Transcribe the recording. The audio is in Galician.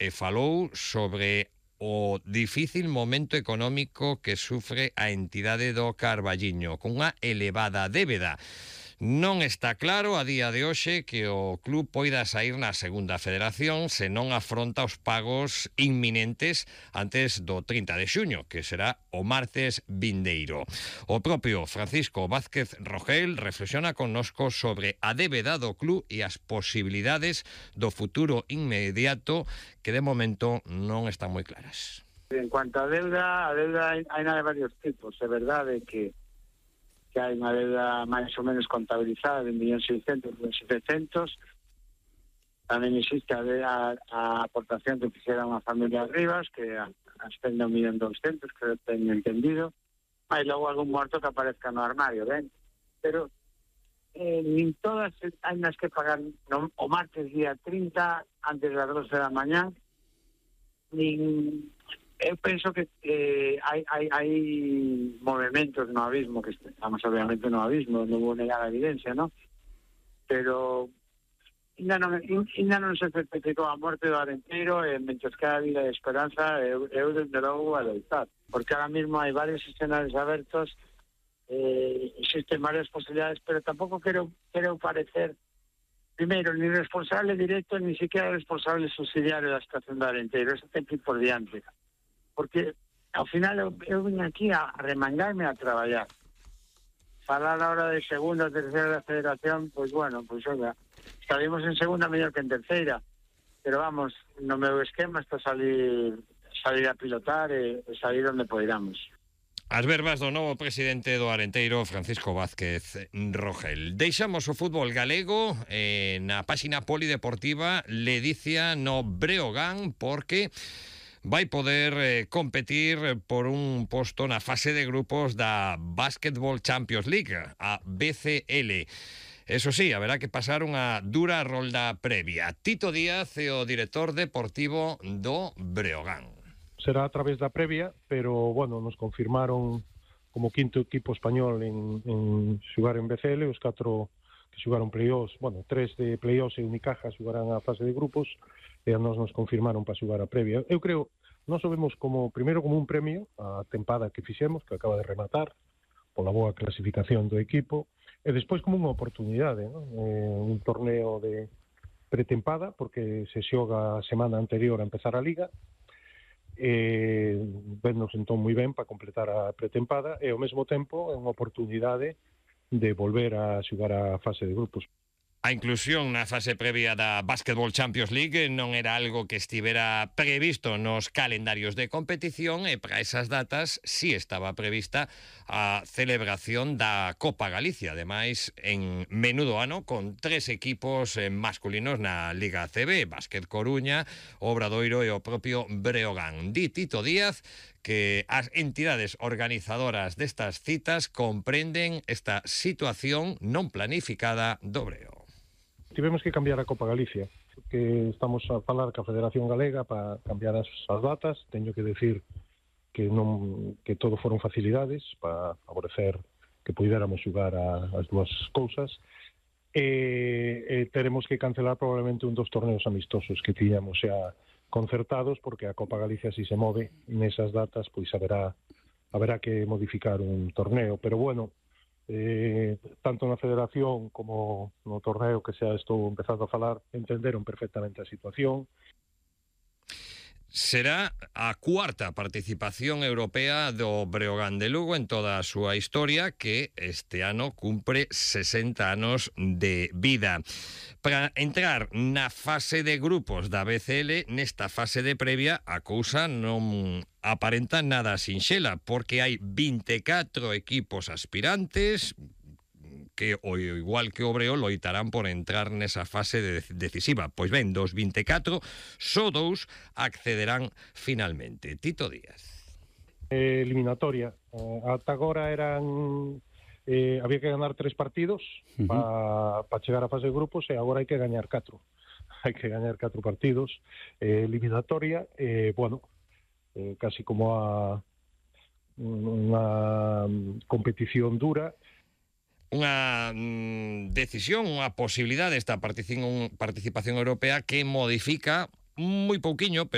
e falou sobre o difícil momento económico que sufre a entidade do Carballiño, cunha elevada débeda. Non está claro a día de hoxe que o club poida sair na segunda federación se non afronta os pagos inminentes antes do 30 de xuño, que será o martes vindeiro. O propio Francisco Vázquez Rogel reflexiona connosco sobre a débeda do club e as posibilidades do futuro inmediato que de momento non están moi claras. En cuanto a deuda hai de varios tipos. É verdade que hai unha deuda máis ou menos contabilizada de 1.600.000, 1.700.000. Tamén existe a aportación que fixera unha familia Rivas, que ascende a 1.200.000, que teño entendido. Hai logo algún morto que aparezca no armario, ben? Pero nin todas hai nas que pagar o martes día 30, antes das 12 da mañá, nin... Eu penso que hai movimentos no abismo, que estamos obviamente no abismo, non vou negar a evidencia, ¿no? Pero ainda non se certificou a morte do Arenteiro, e mentres que a vida de esperanza, eu desde logo a loitar, porque ahora mismo hai varios escenarios abertos, existen varias posibilidades, pero tampouco quero parecer primeiro, ni responsable directo, ni siquiera responsable subsidiario da estación do Arenteiro. Eso ten que ir por diante. Porque ao final eu vim aquí a remangarme a traballar. Falar ahora de segunda, terceira da federación, pois bueno, pois oiga, estaremos en segunda mellor que en terceira, pero vamos, no meu esquema está salir a pilotar e salir onde poidamos. As verbas do novo presidente do Arenteiro, Francisco Vázquez Rogel. Deixamos o fútbol galego na páxina polideportiva Ledicia no Breogán, porque vai poder competir por un posto na fase de grupos da Basketball Champions League, a BCL. Eso sí, haberá que pasar unha dura rolda previa. Tito Díaz é o director deportivo do Breogán. Será a través da previa, pero, bueno, nos confirmaron como quinto equipo español en xugar en BCL, os 4 que xugaron playoffs, bueno, 3 de playoffs e Unicaja xugarán a fase de grupos, e a nos confirmaron para xugar a previa. Eu creo, nós o vemos primeiro como un premio a tempada que fixemos, que acaba de rematar, pola boa clasificación do equipo, e despois como unha oportunidade, ¿no? Un torneo de pretempada, porque se xoga a semana anterior a empezar a Liga, vennos entón moi ben para completar a pretempada, e ao mesmo tempo é unha oportunidade de volver a xogar a fase de grupos. A inclusión na fase previa da Basketball Champions League non era algo que estivera previsto nos calendarios de competición, e para esas datas sí estaba prevista a celebración da Copa Galicia, ademais en menudo ano, con 3 equipos masculinos na Liga ACB, Básquet Coruña, Obradoiro e o propio Breogán. Di Tito Díaz que as entidades organizadoras destas citas comprenden esta situación non planificada do Breo. Tivemos que cambiar a Copa Galicia, que estamos a falar ca Federación Galega para cambiar as datas. Teño que decir que todo foron facilidades para favorecer que puidéramos xugar as dúas cousas, e teremos que cancelar probablemente un dos torneos amistosos que tiñamos xa concertados, porque a Copa Galicia, si se move nesas datas, pois haberá que modificar un torneo, pero bueno, tanto na federación como no torneo que xa estou empezando a falar, entenderon perfectamente a situación. Será a cuarta participación europea do Breogán de Lugo en toda a súa historia, que este ano cumpre 60 anos de vida. Para entrar na fase de grupos da BCL, nesta fase de previa, a cousa non aparenta nada sinxela, porque hai 24 equipos aspirantes que, ao igual que o Breo, loitarán por entrar nesa fase decisiva. Pois ben, dos 24, só 2 accederán finalmente. Tito Díaz. Eliminatoria. Ata agora había que ganar 3 partidos para chegar á fase de grupos, e agora hai que gañar 4. Hai que gañar 4 partidos. Eliminatoria, bueno, casi como unha competición dura. Unha decisión, unha posibilidade desta participación europea que modifica moi pouquiño, pero